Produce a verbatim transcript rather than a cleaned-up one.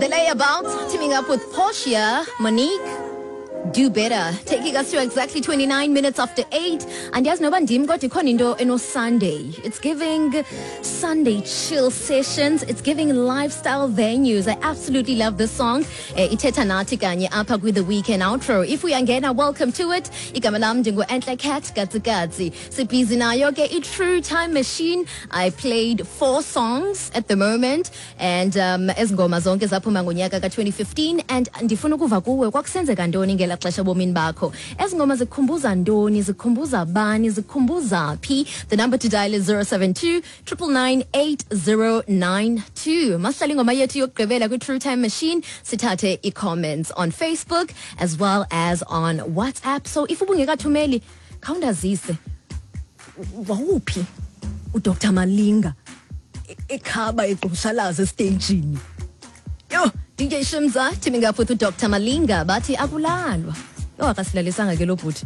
The Layabouts teaming up with Portia, Monique, Do Better, taking us to exactly twenty-nine minutes after eight. Andiyazi noba ndim, kodwa ikhona into eno-Sunday. It's giving Sunday chill sessions. It's giving lifestyle venues. I absolutely love this song. Eh, ithetha nathi kanye apha kwi-The Weekend Outro. If uyangena, welcome to it. Igama lam ndingu-Entle Cat Katsikatsi. Sibhizi nayo ke i-True Time Machine. I played four songs at the moment, and um, ezi ngoma zonke zaphuma ngonyaka ka-twenty fifteen, and ndifuna ukuva kuwe, kwakusenzeka ntoni ngela xesha ebomini bakho? Ezi ngoma zikukhumbuza ntoni? Zikukhumbuza bani? Zikukhumbuza phi? The number to dial is zero seven two nine nine nine eight zero nine two. Masihlale ingoma yethu yokugqibela kwi-True Time Machine, sithathe i-comments on Facebook as well as on WhatsApp. So if ubungekathumeli, khawundazise, wawuphi uDr Malinga e- ekhaba egqushalaza esteyijini? Yo, D J Shimza teaming up with uDr Malinga, bathi akulalwa. Yho, akasilalisanga ke lo bhuti.